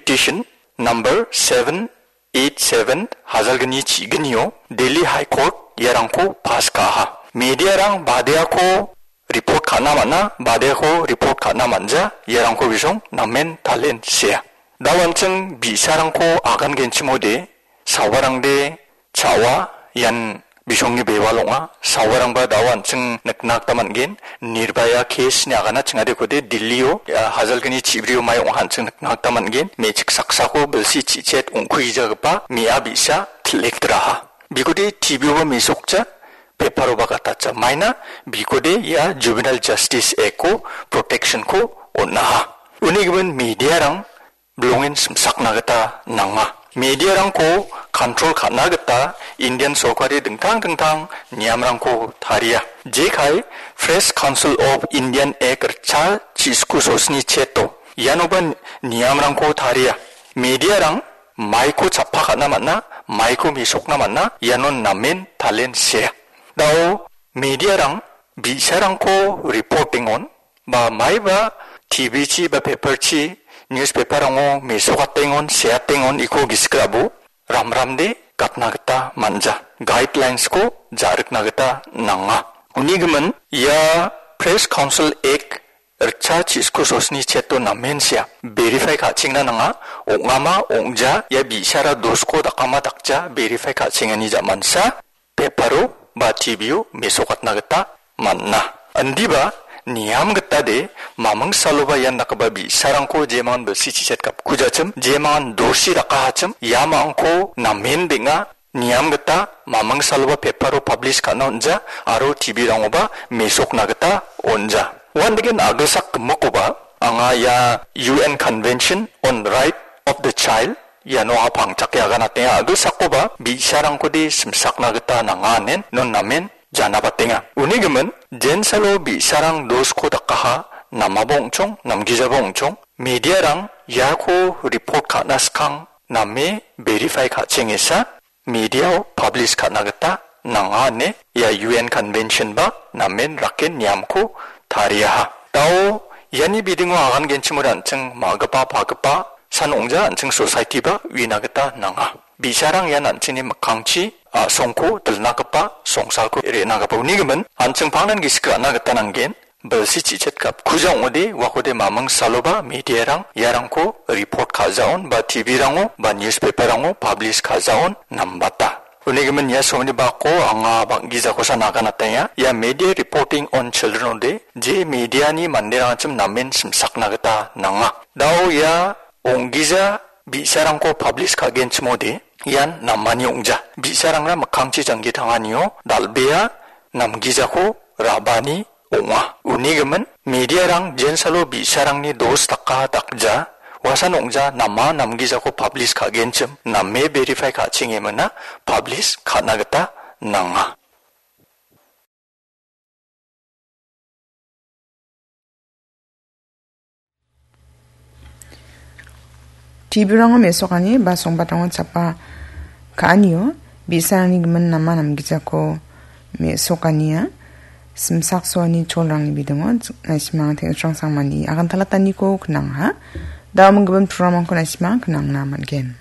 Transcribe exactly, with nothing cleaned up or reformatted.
petition number seven eight seven hajalgni chiginio Delhi High Court iarangko pass ka·aha. Mediarang badeako report ka·na man·a, badeako report ka·na man·ja, iarangko bisong namen talen sea. Da·o an·ching bi·sarangko agangenchimode, sawarangde cha·oa, ian bisongni bewal ong·a. Sawarangba da·o an·ching nikna gita man·gen. Nirbhaya case-ni agana chingadekode Delhi-o, ah, hajalgni chibrio mai ong·a an·ching nikna gita man·gen. Me·chik saksako bilsi chichet ong·kuijagipa me·a bi·sa kil·ektraha. Bikode T V-oba mesokja, paper-oba gatacha. Maina bikode ia Juvenile Justice Act-o protection-ko on·aha. Uni gimin mediarang bilongen simsakna gita nanga. Mediarangko control ka·na gita Indian sorkari dingtang dingtang niamrangko taria. Jekai Press Council of Indian Act ritcha chisku sosni cheto. Ianoba niamrangko taria. Mediarang maiko chappa ka·na man·a, maiko mesokna man·a, ianon namen talen sea. Da·o mediarang bi·sarangko reporting-on, ba maiba T V-chi ba paper-chi, newspaper-rango mesokatengon, seatengon iko gisik rabo, ramramde gatna gita man·ja. Guidelines-ko ja·rikna gita nanga. Uni gimin, ia Press Council Act ritcha chisku sosni cheto namen sea. Verify ka·chengna nanga, ong·ama, ong·ja, ia bi·sara dosko dakama dakja, verify ka·chengani ja·mansa, paper-o ba T V-o mesokatna gita man·a. Indiba niam gitade, maming saloba ian dakgipa bi·sarangko jemangan bilsi chichet gapkujachim, jemangan dosi dakahachim, iamangko namen beng·a, niam gita maming saloba paper-o publish ka·na on·ja, aro T V-rangoba mesokna gita on·ja. Uandake a·gilsak gimikkoba, anga ia U N Convention on Right of the Child, iano a·pangchake aganatenga. A·gilsakoba bi·sarangkode simsakna gita nanga anen non namen janabatenga. Uni gimin, jensalo bi·sarang dosko dakaha, namaba ong·chong, namgijaba ong·chong, mediarang iako report ka·na skang name verify ka·chengesa, mediao publish ka·na gita nanga ine ia U N Convention ba namen raken niamko tariaha. Da·o iani bidingo agangenchimode an·ching ma·gipa pagipa san ong·ja an·ching society ba uina gita nanga. Bi·sarang ian an·chingni mikkangchi a·songko dilnagipa songsalko re·nagipa uni gimin an·ching pangnan gisik ra·na gita nanggen. Bilsi chichet gapkuja ong·ode, uakode maming saloba mediarang iarangko report ka·jaon ba T V-rango ba newspaper-rango publish ka·jaon nambata. Uni gimin ia somni bako anga bang·gijakosa naganatenga. Ia media reporting on children ode, je mediani manderangchim namen simsakna gita nanga. Da·o ia ong·gija bi·sarangko publish ka·genchimode, ian namani ong·ja. Bi·sarangna mikkangchi janggi tanganio dal·bea namgijako ra·bani ong·a. Uni gimin, mediarang jensalo bi·sarangni dos daka dakja, uasan ong·ja nama namgijako publish ka·genchim, name verify ka·chengemina publish ka·na gita nanga. T V-rango mesokani ba songbatrango chapa ka·anio bi·sarangni gimin nama namgijako mesokania simsaksoani cholrangni bidingo naisimang teng·srang sangmani agantalataniko knangha. Da·oming gimin programrangko naisimang knangna man·gen.